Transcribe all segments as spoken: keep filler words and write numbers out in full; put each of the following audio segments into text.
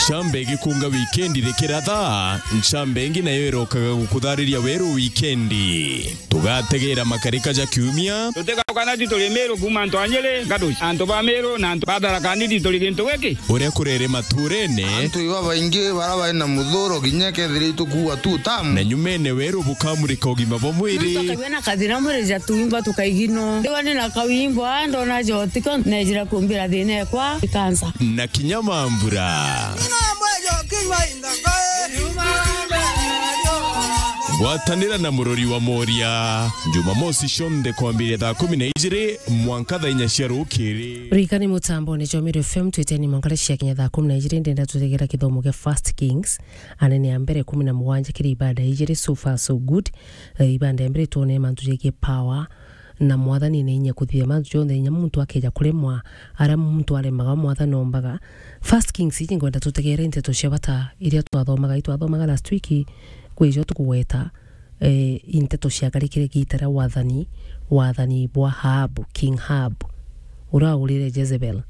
Ncamba igikunga wikendi rikiratha, ncamba ingi nayo irokaga gukuthariria weru wikendi. Tugategera makarika ja kiumia. Tutigaukana ti turi Miru kuuma antu a Nyeri, Gaduci, antu ba Miru na antu ba Tharaka Nithi turi gintu giki. Uria kurere maturene. Antu iba baingi bara bari na muthuro kinya kethira itukuua tu tamu. Na nyumene weru bukamurika ugima bwa mwiri. Nontu akagua na kathina mwiri ja tuimba tukaigino. Ndiwa ni na kawimbo, a, ndona jotiko, nejira kumbira thina ekwa, ikansa. Na kinya mambura. Gwatanira na murori wa Moria, Jumamosi cionthe kwambiria thaa kumi na ijiri mwanka thaa inya cia rukiri. Ririkani mutambone jwa Meru F M, twiteni mwanka cia kinya thaa kumi na ijiri, ndenda tutegera kithomo gia First Kings, anene a mbere kumi na mugwanja kiri ibada ijiri, so far so good. Eh, ibada ya mbere twone mantu jegie power, na Mwathani ena inya kuthithia mantu jonthe, inya muntu akeja kuremwa, aria muntu aremaga, Mwathani ombaga. First Kings iji ngwenda tutegere nteto cia bata iria twathomaga, itwathomaga last week, kwi ijo tukugweta, eh, i nteto ciakarikire giita ria wathani, wathani bwa Ahab, King Ahab, uria waurire Jezebel.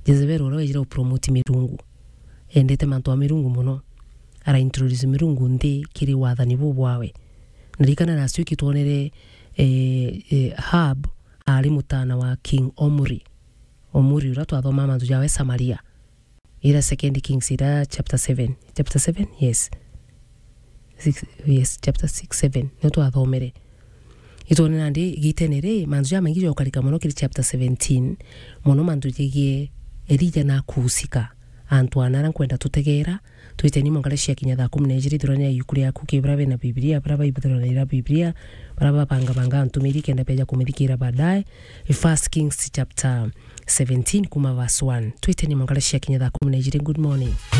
Jezebel uria wejire upromote mirungu. Endete mantu a mirungu mono. Ara introduce mirungu nthi kiri wathani buu bwawe. Ndirikana last week twonere, eh, eh, Ahab aari mutaana wa King Omri. Omri uria twathomaa mantu jawe Samaria. Ira Second Kings, ira chapter seven. Chapter seven? Yes. Six, yes, chapter six, seven. Nio twathomere. Itwone nandi giitene ri, mantu jamaingi jokarika mono kiri chapter seventeen, mono mantu jegie Elija na akuusika. Antu ana ara nkwenda tutegera, twiteni mwanka cia kinya thaa kumi na ijiri, thurania yuku riaku ki bara bena Bibilia, bara baibuthuranira Bibilia, bara babangabanga antumiri kenda beja kumithikira baadaye. First Kings chapter seventeen kuma verse one. Twiteni mwanka cia kinya thaa kumi na ijiri. Good morning.